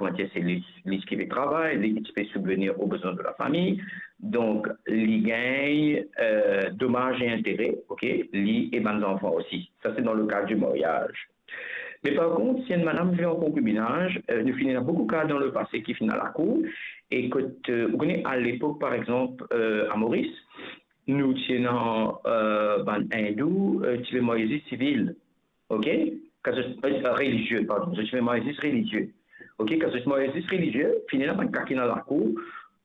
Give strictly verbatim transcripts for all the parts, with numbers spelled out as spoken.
kouma dir, se li, li ki pe travay, li ki ti pe sibvenir o bezwin de lafami. Donk, li gagn, euh, domaz e intere, ok, li e bann zanfan osi. Sa, se dan le kad di maryaz. Me par kont, si enn madam viv an konkibinaz, euh, nou finn ena boukou ka dan lepase ki finn al lakour, e kot, euh, ou kone, alepok, par exanp, euh, a Moris, nou ti ena, euh, bann Indou, euh, ti pe marye zis sivil, ok? Kan zot, euh, relizie, pardon, zot ti pe marye zis relizie. Ok, kan zot marye zis relizie, finn ena bann ka ki ena lakour,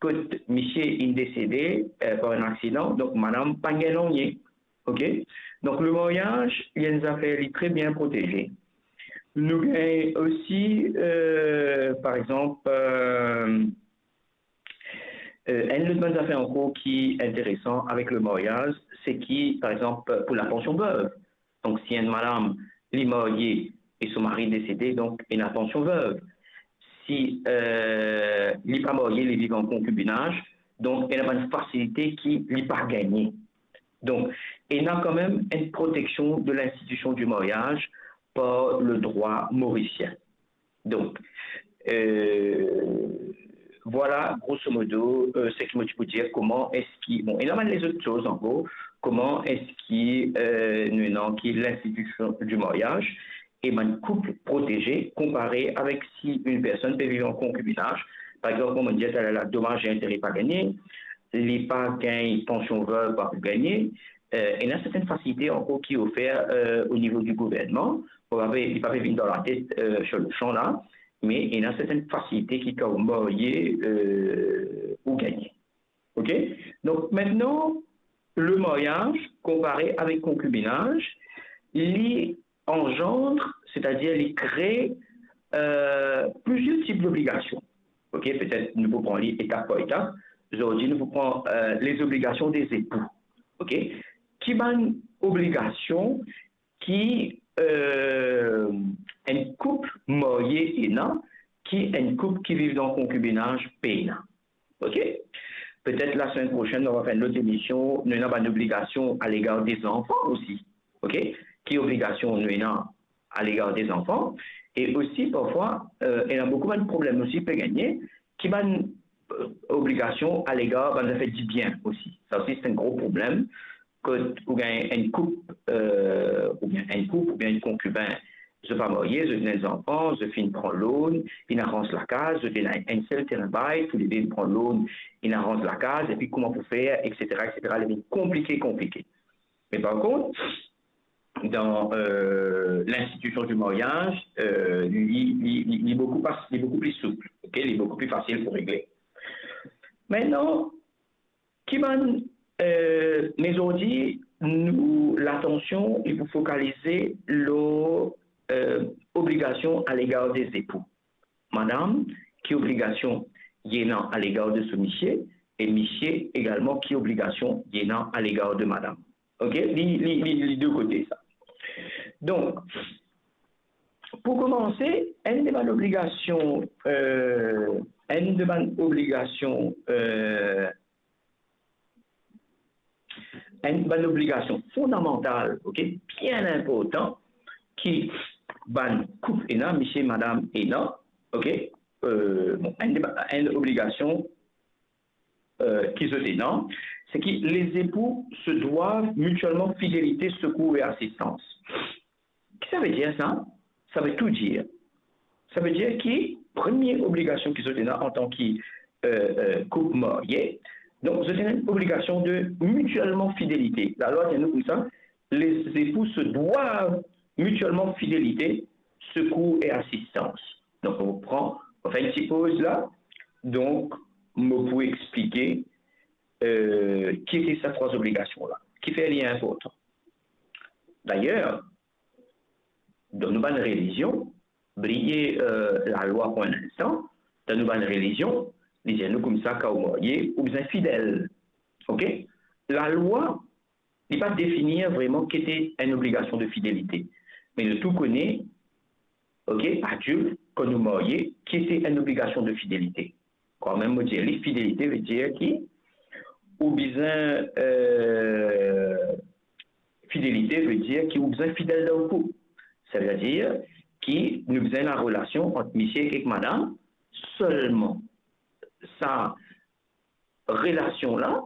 kot misie inn desede, euh, par enn aksidan, donk madam pa gagn nanye. Ok? Donk, le maryaz, li enn zafer, li tre bien proteze. Nou gagn osi, euh, par exanp, euh, euh, enn lot bann zafer ankor ki interesan avek le maryaz, se ki, par exanp, pou la pansion veuve. Donk, si enn madam, li marye e so mari desede, donk, ena pansion veuve. Si, euh, li pa marye, li viv an konkibinaz, donk, ena bann fasilite ki li pa gagne. Donk, ena kanmem enn proteksion de linstitision di maryaz par le drwa morisien. Donk, euh, vwala, grosso modo, euh, seki mo ti pou dir, kouma eski, bon, ena bann lezot soz ankor, kouma eski, euh, nou ena ki linstitision di maryaz e bann koup proteze konpare avek si enn personn pe viv an konkibinaz. Par exanp, kouma mo dir taler la, domaz e intere pa gagne, li pa gagn pansion veuve, pa pou gagne, euh, ena sertenn fasilite ankor ki ofer, euh, o nivo di gouvernman. Bon, pa pe, li pa pe vinn dan latet, euh, sir le san la, me ena sertenn fasilite ki kan ou marye, euh, ou gagne. Ok? Donk, aster, le maryaz, konpare avek konkibinaz, li anzandre, setadir li kre, euh, plizier tip dobligasion. Ok? Petet nou pou pran li etap par etap. Zordi, nou pou pran, euh, les obligations des époux. Ok? Ki bann obligasion ki, euh, enn koup marye ena, ki enn koup ki viv dan konkibinaz pena? Ok? Petet lasemenn prosenn, nou va fer enn lot emision, nou ena bann obligasion alegar de zanfan osi. Ok? Ki obligasion nou ena alegar de zanfan? E osi, parfwa, euh, ena boukou bann problem osi pe gagne, ki bann, euh, obligasion alegar bann zafer dibien osi. Sa osi, se enn gro problem. Kot ou gagn enn koup, euh, oubien enn koup, oubien enn konkibin, zot pa marye, zot ena zanfan, zot finn pran loan, inn aranz lakaz, zot ena enn sel terin bay, toulede inn pran loan, inn aranz lakaz, epi kouma pou fer, etsetera, etsetera, li vinn konplike, konplike. Me par kont, dan, euh, linstitision di maryaz, euh, li, li, li, li boukou pas, li boukou pli soup, ok? Li boukou pli fasil pou regle. Aster, ki bann, euh, me zordi, nou, latansion, li pou fokalize lor, euh, obligasion alegar de zepou. Madam, ki obligasion li ena alegar de so misie, e misie egalman ki obligasion li ena alegar de madam. Ok? Li, li, li, li de kote sa. Donk, pou koumanse, enn de bann obligasion, euh, enn de bann obligasion, euh, enn bann obligasion fondamantal, ok, bien inportan, ki bann koup ena, misie, madam ena, ok, euh, bon, enn de ba-, enn obligasion, euh, ki zot ena, se ki les époux se doivent mutuellement fidélité, secours et assistance. Ki sa ve dir sa? Sa ve tou dir. Sa ve dir ki premie obligasion ki zot ena antan ki, euh, euh, koup marye, donk zot ena enn obligasion de mutuellement fidélité. Lalwa dir nou koumsa, les époux se doivent mutuellement fidélité, secours et assistance. Donk, nou pran, nou fer enn ti poz la. Donk, mo pou explike, euh, ki ete sa trwa obligasion la. Kifer li inportan? Dayer, dan nou bann relizion, bliye, euh, lalwa pou enn instan, dan nou bann relizion, li dir nou koumsa, kan ou marye, ou bizin fidel. Ok? Lalwa, li pa definir vreman ki ete enn obligasion de fidelite. Me nou tou kone, ok, adilt, kan nou marye, ki ete enn obligasion de fidelite. Kanmem, mo dir li, fidelite ve dir ki ou bizin, euh, fidelite ve dir ki ou bizin fidel dan ou koup. Sa ve dir ki nou bizin ena relasion ant misie ek madam, selman sa relasion la,